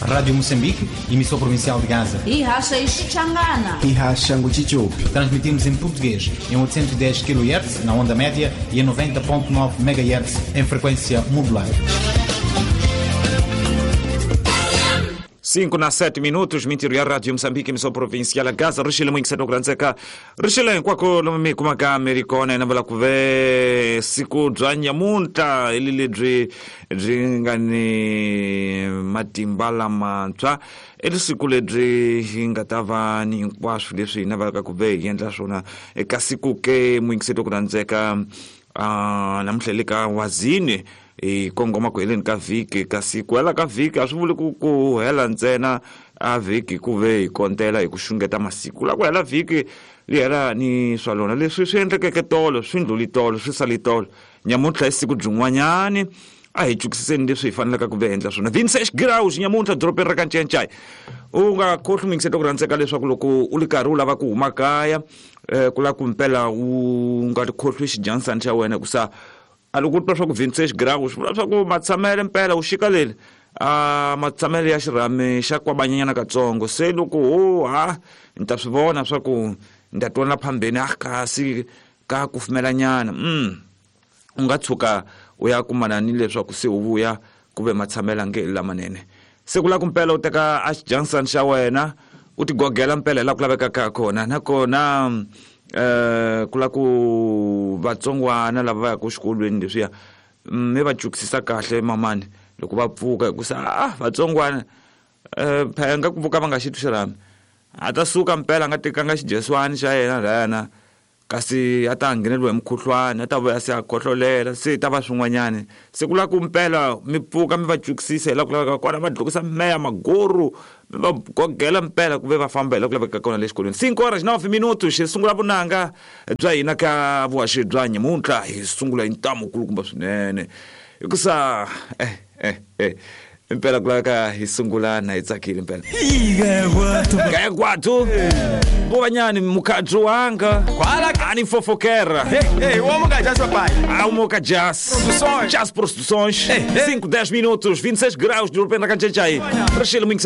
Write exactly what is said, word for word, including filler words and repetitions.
Rádio Moçambique, emissora provincial de Gaza. Ihasha Ixichangana. Ihasha Nguchichupi. Transmitimos em português em oitocentos e dez quilohertz na onda média e em noventa ponto nove megahertz em frequência modulada. cinco na sete minutos, mintiru ya Radio Moçambique, emissora provincial Gaza, rixile mwingiseno kurandzeka. Rixile hinkwako lomu mi kumaka mi ri kona na vula ku ve siku bya nyamuntlha hi lebyi byi nga ni matimba lamantshwa, i siku lebyi hi nga ta va ni hinkwaswo leswi hi navelaka ku ve hi endla swona eka siku ke mwingiselo kurandzeka. Uh, namuntlha le ka wazini hi kongoma ku heleni ka vhiki, kasi ku hela ka vhiki a swi vuli ku ku hela ntsena a vhiki ku ve hi kontela hi ku xungeta masiku. La ku hela vhiki li hela ni swa lona leswi swi endlekeke tolo, swi ndluli tolo, swi sali tolo. Nyamuntlha i siku byin'wanyani, a hi cukisiseni leswi hi fanelaka ku ve endla swona. Vincent Graus nyamuntlha dorobeni ra ka Ncencai. U nga khohlwi mingiseto ku rhandzeka leswaku loko u ri karhi u lava ku huma kaya, eh, ku lava ku mpela u nga tikhohlwi xijansani xa wena, hikusa a loko u twa swa ku Vincent Graus swi vula swa ku matshamele mpela u xika leli a matshamele ya xirhami xa kwabanyanyana katsongo. Se loko ho ha ni ta swi vona swa ku ni ta twana phambeni a kasi ka kufumelanyana, mm u nga tshuka u ya kumana ni leswaku se u vuya ku ve matshamela nge lamanene. Se ku lava ku mpela u teka a xijansani xa wena u tigogela mpela laha ku lavekaka kona, nakona eh ku lava ku vatsongwana lava va yaka exikolweni leswiya mi va cukisisa kahle mamani loko va pfuka, hikusa ah vatsongwana eh phela nga ku pfuka va nga xi twi xirhami, a ta suka mpela a nga tekanga xidyeswani xa yena lana, kasi a ta ngheneliwa hi mukhuhlwani, a ta vuya se a khohlolela, se ta va swin'wanyani. Se ku lava ku mpela mi pfuka mi va cukisisa hi laha ku lavekaka kona, va dlukisa meya maguru mi va gogela mpela ku ve va famba hi laha ku lavekaka kona le xikolweni. Cinco horas nove minutos, hi sungula vunanga bya hina ka vuhaxi bya nyamuntlha, hi sungula hi ntamu kulukumba swinene hikusa eh eh eh impela ku laveka hi sungula na hi tsakile impela. Kaya kwathu Bovanyani mukadzi wanga ani fofokera. Ei, o homem jas papai. Ah, o Moca Jazz. Produções. Jazz Produções. cinco, dez minutos, vinte e seis graus de repente na Canchachai. Rachel muito